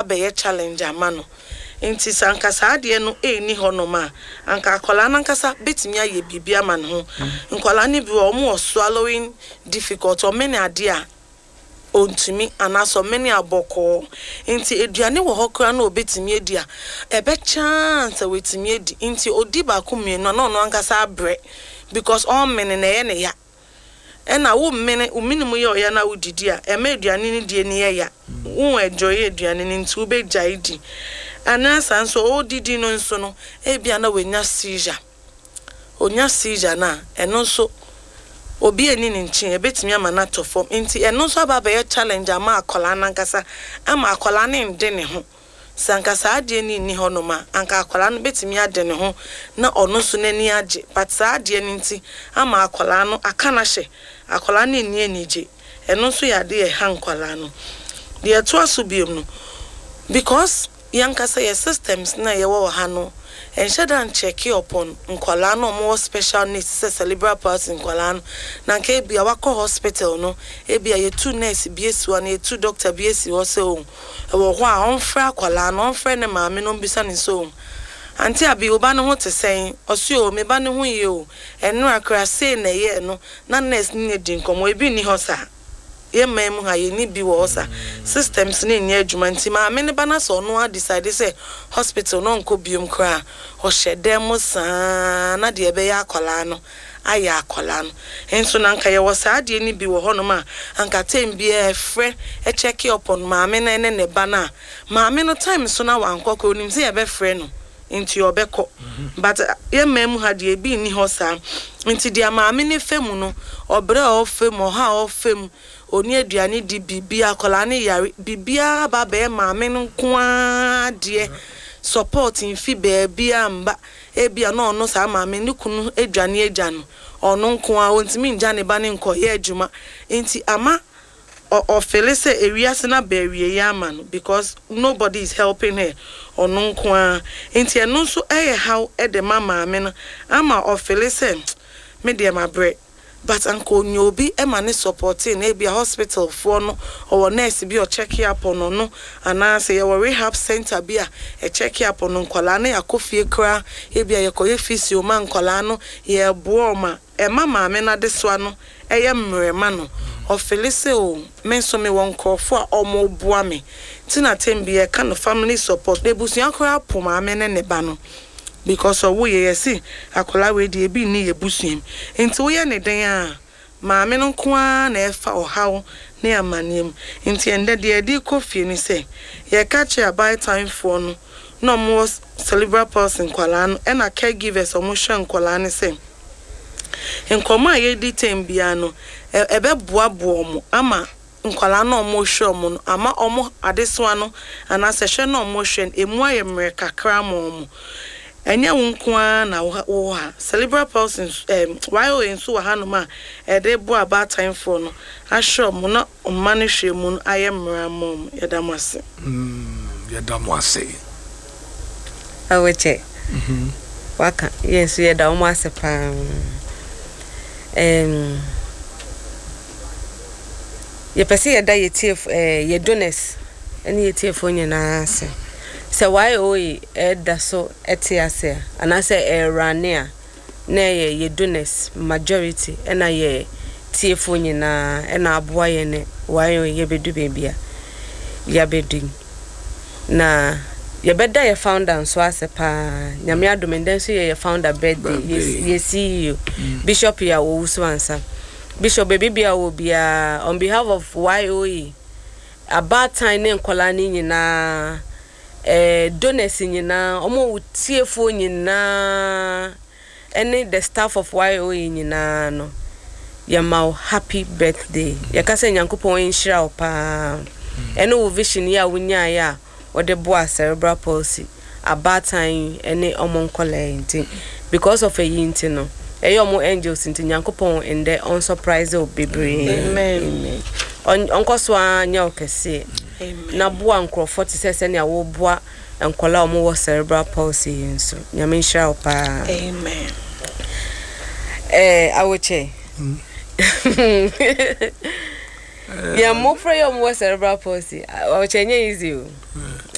abɛyɛ challenge ama no. Nti sɛ anka saa adeɛ no ɛnni hɔnom a, anka akwadaa no ankasa bɛtumi ayɛ biribi ama ne ho. Nkwadaa no bi wɔ hɔ, wɔwɔ swallowing difficulty, wɔmene adeɛ a, ɔntumi anaasɛ ɔmene a bɔkɔɔ. Nti aduane wɔ hɔ koraa na ɔbɛtumi adi a, ɛbɛkyɛ ara ansa watumi adi. Nti ɔdi baako mmienu a, na ɔno ankasa abrɛ because ɔmmene no, ɛyɛ no ya. Ɛna wo mene, wo mene mu yɛ ɔya na wo didi a, ɛma aduane no die no yɛ ya. Wo enjoy aduane no nti wo bɛ gyae di. Anaa saa nso ɔredidi no nso no, ebia na wanya seizure. Ɔnya seizure no a, ɛno nso obi anni ne nkyen, ɛbɛtumi ama no atɔ fam. Nti ɛno nso aba abɛyɛ challenge ama akwadaa no ankasa, ama akwadaa no nde ne ho. Sɛ anka saa adeɛ no nni hɔ nom a, anka akwadaa no bɛtumi ade ne ho na ɔno nso n'ani agye. But saa adeɛ no nti ama akwadaa no aka no ahyɛ. Akwadaa no nni anigye. Ɛno nso yɛ adeɛ a ɛha nkwadaa no. Deɛ ɛtoa so biom no, because yɛn ankasa yɛn systems no a yɛwɔ wɔ ha no, ɛnhyɛ da nkyɛke upon nkwadaa no a wɔwɔ special needs te sɛ cerebral palsy nkwadaa no. Na anka ebia wakɔ hospital no, ebia yɛtu nurse bi asi hɔ anaa yɛtu doctor bi asi hɔ sɛ oh, Ɛwɔ hɔ a, ɔmfrɛ akwadaa no, ɔmfrɛ ne maame na ɔmmisa no sɛ, O, Auntie Abi, wo ba no ho te sɛn? Ɔse, O, me ba no ho ye o. Ɛnnora koraa, sei na ɛyɛɛ no. Na nurse ne no adi nkɔmmɔ. Ebi nni hɔ saa. Yɛn man mu ha, yɛnni bi wɔ hɔ saa. Systems no nyɛ adwuma nti, maame no ba na sɛ ɔno ara decide sɛ hospital no ɔnkɔ biom koraa a, ɔhyɛ dan mu saa ara na deɛ ɛbɛyɛ akwadaa no ayɛ akwadaa no. Nso na anka yɛwɔ saa adeɛ no bi wɔ hɔnom a, anka term biara ɛfrɛ check up on maame no ne ne ba no a, maame no time so na wankɔ koraa, ɔnim sɛ yɛbɛfrɛ no nti ɔbɛkɔ. But yɛn man mu ha deɛ ebi nni hɔ saa. Nti deɛ maame no fa mu no, ɔbrɛ a ɔfa mu, ɔhaw a ɔfa mu, ɔnni aduane di, biribiara, akwadaa no yare, biribiara aba abɛyɛ maame no nko ara deɛ, support mfi baabiara mma. Ebia na ɔno saa maame no ne kunu adwane agya no, ɔno nko ara, ɔntumi ngya ne ba no nkɔyɛ adwuma nti ama ɔ ɔfele sɛ ewiase no aba awieɛ ama no because nobody is helping her, ɔno nko ara. Nti ɛno nso yɛ haw de ma maame no ama ɔfele sɛ me deɛ mabrɛ. But anka onya obi ma ne supportee no, ebia hospital foɔ no ɔwɔ nurse bi a ɔcheck up on ɔno, anaa sɛ yɛwɔ rehab centre bi a ɛcheck up on nkwadaa na yɛakɔ fie koraa, ebia yɛkɔyɛ physio ma nkwadaa no, yɛboa wɔn a, ɛma maame no adesoa no yɛ mmerɛ ma no. Ɔfele sɛ oh, me nso mewɔ nkorɔfoɔ a wɔboa me, nti na term biara yɛka no family support, abusua koraa po maame ne ne ba no. Because ɔwo yɛ yɛse akwadaa wei deɛ ebi nni yɛ busua mu nti woyɛ ne dɛn a maame no nko ara na ɛfa ɔhaw ne amaneɛ mu nti ɛndɛ deɛ yɛde rekɔ fie ne sɛ yɛka kyerɛ abaatan foɔ no na ɔmo wɔ cerebral palsy nkwadaa no ɛna care givers a ɔmo hwɛ nkwadaa no sɛ nkɔmɔ a yɛdi term biara no ɛbɛboaboa ɔmo ama Nkwadaa no a wɔrehwɛ wɔn no, ama wɔn adesoa no anaasɛ hwɛ no a wɔrehwɛ no, ɛmu ayɛ mmerɛ kakra ama wɔn. Ɛnyɛ wo nko ara na wowɔ ha. Cerebral palsy nso, ɛɛm, YOA nso wɔ hanom a ɛde reboa abaatanfoɔ no ahwɛ wɔn na wɔn mma no hwɛ mu no ayɛ mmerɛ ama wɔn. Yɛda mo ase. Mm, yɛda mo ase. Awokyɛ, waka, yɛn nso yɛda wɔn ase paa. Ɛɛm. Yɛpɛ sɛ yɛda yɛ tiefo ɛɛ yɛ donors ne yɛ tiefoɔ nyinaa ase. Sɛ YOE ɛda so te ase a anaasɛ ɛrerane a na ɛyɛ yɛ donors majority ɛna yɛ tiefoɔ nyinaa ɛna aboa yɛn ne YOE yɛbɛdu baabi a yɛabɛdu yi. Na yɛbɛda yɛ founder nso ase paa. Nyame adom ndɛ nso yɛ yɛ founder birthday, yɛ CEO, Bishop Yaw Owusu Ansah. Bishop baabi biara ɔwɔ biara, on behalf of YOE, abaatan ne nkwadaa no nyinaa, eh, donors nyinaa, wɔn a wɔtiefoɔ nyinaa, ɛne the staff of YOE nyinaa no, yɛma wo happy birthday. Yɛka sɛ Nyankopɔn nhyira wo paa. Ɛne wo vision yi a wonyaeɛ a wɔde boa cerebral palsy abaatan yi ne ɔmo nkɔlaa yi nti because of eyi nti no ɛyɛ ɔmo angels nti Nyankopɔn ndɛ ɔn surprise wo bebree amen ɔnkɔ so ara nyɛ wo kɛseɛ na boa nkorɔfoɔ te sɛ sɛnea wo boa nkɔlaa a ɔmo wɔ cerebral palsy yi nso Nyame nhyira wo paa amen ɛɛ awokyɛ yɛn mmofra yi a wɔwɔ cerebral palsy ɔkyɛ nyɛ easy o.